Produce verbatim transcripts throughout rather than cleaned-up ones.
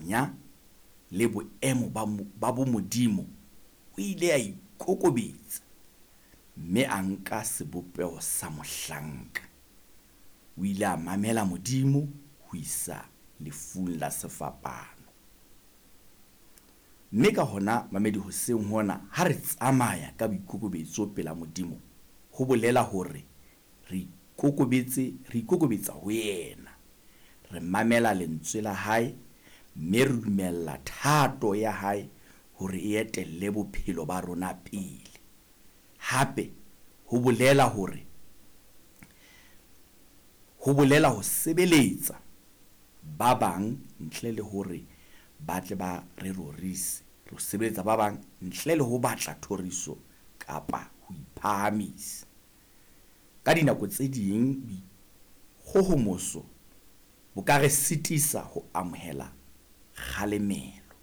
kganya le boemo ba ba bomodimo, o ile a ikokobetsa mme a nka sebopeho sa mohlanka. O ile a mamela Modimo ho isa lefung la sefapano. Mme ka hona mamedi hoseng hona ha re tsamaya ka boikokobetso pela Modimo, ho bolela hore re ikokobetse, re ikokobetsa ho yena. Re mamela lentswe la hae mme re dumella thato ya hae hore e etelle bophelo ba rona pele. Hape ho bolela hore ho bolela ho sebeletsa ba bang ntle le hore ba tle ba re rorise. Re sebeletsa ba bang ntle le ho batla thoriso kapa ho iphahamisa. Ka dinako tse ding boikgohomoso bo ka re sitisa ho amohela kgalemelo.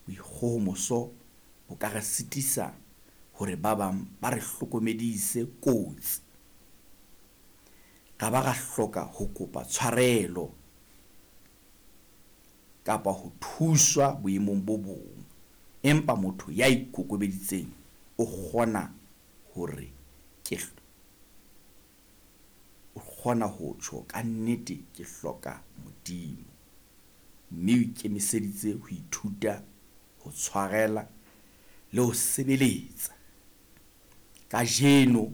Boikgohomoso bo ka re sitisa hore ba bang ba re hlokomedise kotsi. Ra ba ra hloka ho kopa tshwarelo kapa ho thuswa boemong bo bong. Empa motho ya ikokobeditseng o kgona hore ke o kgona ho tjho ka nnete ke hloka Modimo. Mme o ikemiseditse ho ithuta, ho tshwarela le ho sebeletsa. Kajeno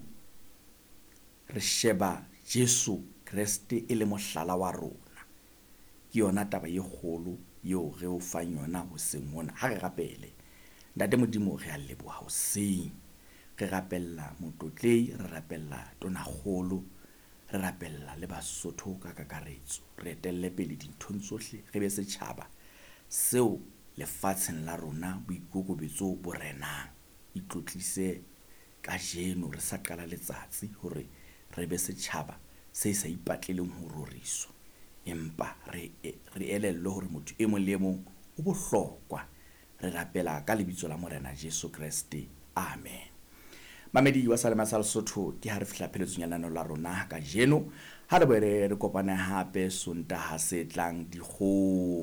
re sheba Jesu Kreste e le mohlala wa rona. Ke yona taba e kgolo eo re o fang yona hoseng hona. Ha re rapele. Ntate Modimo, re a leboha hoseng. Re rapella motlotlehi, re rapella tonakgolo, re rapella le Basotho ka kakaretso. Re etelle pele dinthong tsohle, re be setjhaba seo lefatsheng la rona boikokobetso bo renang. Itlotlise kajeno re sa qala letsatsi hore re be setjhaba se sa ipatleleng ho roriswa, empa re re elellwe hore motho e mong le e mong o bohlokwa. Re rapela ka lebitso la Morena Jesu Kreste. Amen. Mamedi wa Salema sa Lesotho, ke ha re fihla pheletsong ya lenaneo la rona kajeno. Ha re boele re kopane hape Sontaha se tlang dikgo.